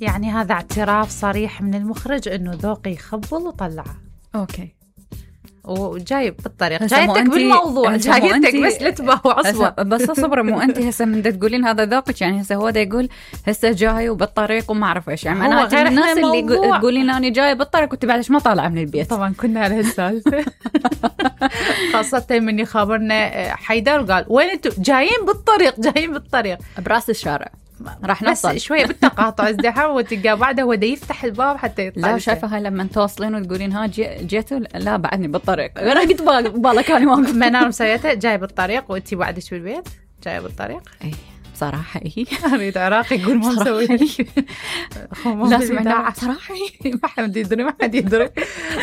يعني هذا اعتراف صريح من المخرج انه ذوقي يخبل وطلعه. اوكي، وجايب بالطريق، جايتك بالموضوع، جايتك بس لتبه وعصبه. بس اصبر، مو انت هسه من تقولين هذا ذوقك، يعني هسه هو دا يقول هسه جاي وبالطريق وما اعرف ايش، يعني انا من الناس اللي تقولين انا جاي بالطريق وانت بعد ما طالعه من البيت. طبعا كنا على هالسالفه خاصه من يخابرنا حيدر وقال وين انتم جايين بالطريق، جايين بالطريق براس الشارع راح نوصل شويه بالتقاطع ازدحام وتلقى بعده هو دا يفتح الباب حتى يطلع. لا شايفه هاي لما توصلين وتقولين ها جيتوا، لا بعدني بالطريق. انا قلت بالك انا واقف منار مسويته جاي بالطريق وانتي بعدك بالبيت جاي بالطريق. اي بصراحه اريد عراقي يقول ما مسوي لا سمعنا صراحه ما حد يدري، ما حد يدري.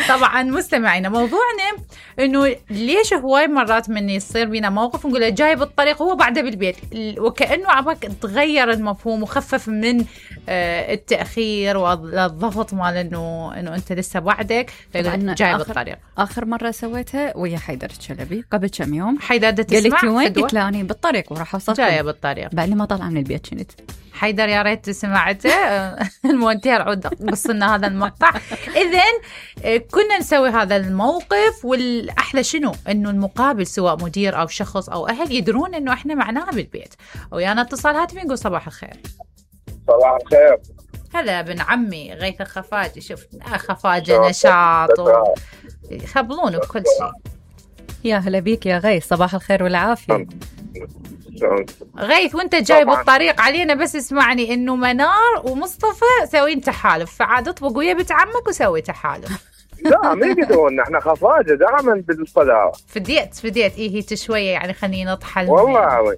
طبعا مستمعينا موضوعنا انه ليش هواي مرات من يصير بينا موقف نقول جاي بالطريق هو بعده بالبيت، وكانه عبك تغير المفهوم وخفف من التاخير والضغط مال انه انت لسه بعدك جاي بالطريق. اخر مره سويتها ويا حيدر الشلبي قبل كم يوم. حيدر تسمع قالت وين؟ قلت له اني بالطريق وراح اوصل جايه بالطريق بعد ما طلع من البيت. شنت حيدر يا ريت سمعته المونتير عود قص لنا هذا المقطع. إذن كنا نسوي هذا الموقف، والأحلى شنو إنه المقابل سواء مدير أو شخص أو أهل يدرون إنه إحنا معناها بالبيت. ويانا اتصال هاتفي نقول صباح الخير. صباح الخير. هلا ابن عمي غيث الخفاجي. شوف خفاجة نشاط يخبلون بكل شيء. يا هلا بيك يا غيث، صباح الخير والعافية. غيث وانت جاي بالطريق علينا بس اسمعني انه منار ومصطفى سوين تحالف، فعاد اطبق ويا بنت عمك وسوي تحالف. لا ما يقدرون، احنا خفاجة دائما بالصدارة. فديت هي تشوية يعني خلينا نطحن والله عوي.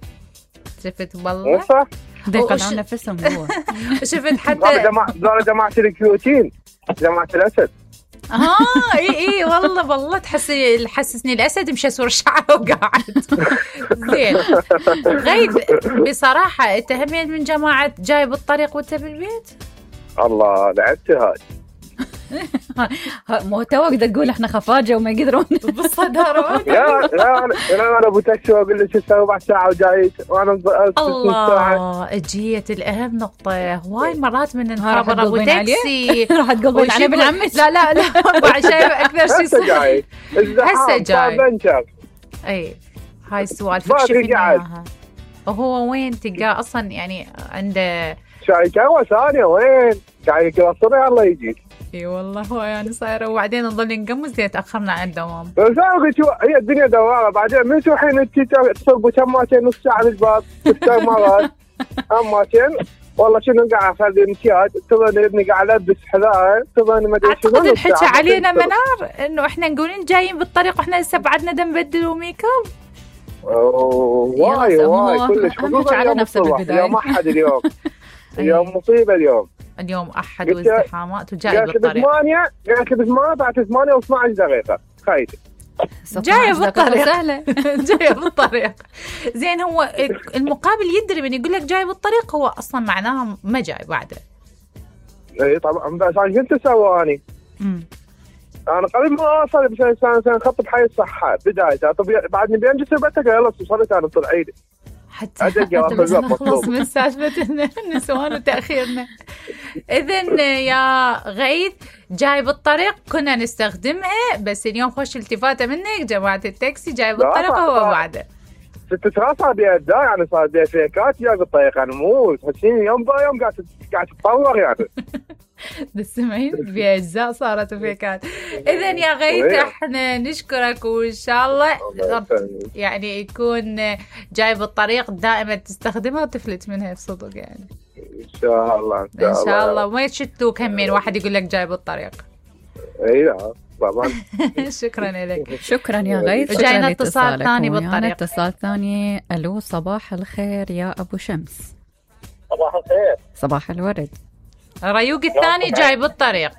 شفت بالله صح يقلعون نفسهم هو. شفت حتى جماعة الكيوتين، جماعة الأسد. اي والله حسسني الاسد مشى سور الشعر وقاعد. زين غيث بصراحه انت همين من جماعه جاي بالطريق وانت بالبيت؟ الله لعبت هاي. مو توك تقول احنا خفاجه وما يقدرون بالصداره. لا انا ابو تاكسي واقول له 4 ساعه وجاي وانا الله اجيت الاهم نقطه. هواي مرات من نخابر ابو تاكسي راح تقول بين علي بن عمك. لا بعد شايفه اكثر شيء هسه جاي. اي هاي السوالف كشفنا اياها. وهو وين تلقاه اصلا يعني عنده شاي قهوه ثانيه وين قاعد يقصر الله يجي. اي والله هو يعني صايره. وبعدين نضل نقمص زين تاخرنا عن الدوام. هي الدنيا دوامه. بعدين من شو حين انت تصب كماتين نص ساعه بالباب تستوي مرات اماتين والله شنو قاعد اخلي امتياز تظن ابني قاعد البس حذاء تظن ما ادري شنو. اعتقد الحكي علينا منار انه احنا نقولين جايين بالطريق واحنا لسه بعدنا نبدل وميك اب. واي كلش خصوصا على نفس البدايه. اليوم احد اليوم مصيبه اليوم احد وازدحامات وجاي بالطريق. قالت لي ب8 بعد 8 و12 دقيقه خايف جايه بالطريق سهله. جايه بالطريق. زين هو المقابل يدري من يقول لك جاي بالطريق هو اصلا معناها ما جاي بعده. اي طبعا بس انا كنت اسواني انا قبل ما اوصل بسنه خط حي الصحه بدايته. طب بعدني بينجسر بتك يلا وصلت انا طلعيدي حتى نخلص من سالفة النسوان وتأخيرنا. إذن يا غيث جاي بالطريق كنا نستخدمها، بس اليوم خوش التفاتة منك جماعة التاكسي جاي بالطريق هو بعده. صار بيها الدا يعني صار بيها فيكات جاي بالطريق يعني مو تحسين يوم بايوم قاعد تتطور يعني. تسمعين بأجزاء صارت فيكات. إذن يا غيث احنا نشكرك وإن شاء الله يعني يكون جاي بالطريق دائما تستخدمها وتفلت منها بصدق يعني. إن شاء الله إن شاء الله وما يشتوك همين واحد يقول لك جاي بالطريق. إيه طبعا. شكرا لك. شكرا يا غيث. جاينا اتصال ثاني بالطريق. اتصال ثاني. ألو صباح الخير يا أبو شمس. صباح الخير. صباح الورد. ريوق الثاني جاي بالطريق.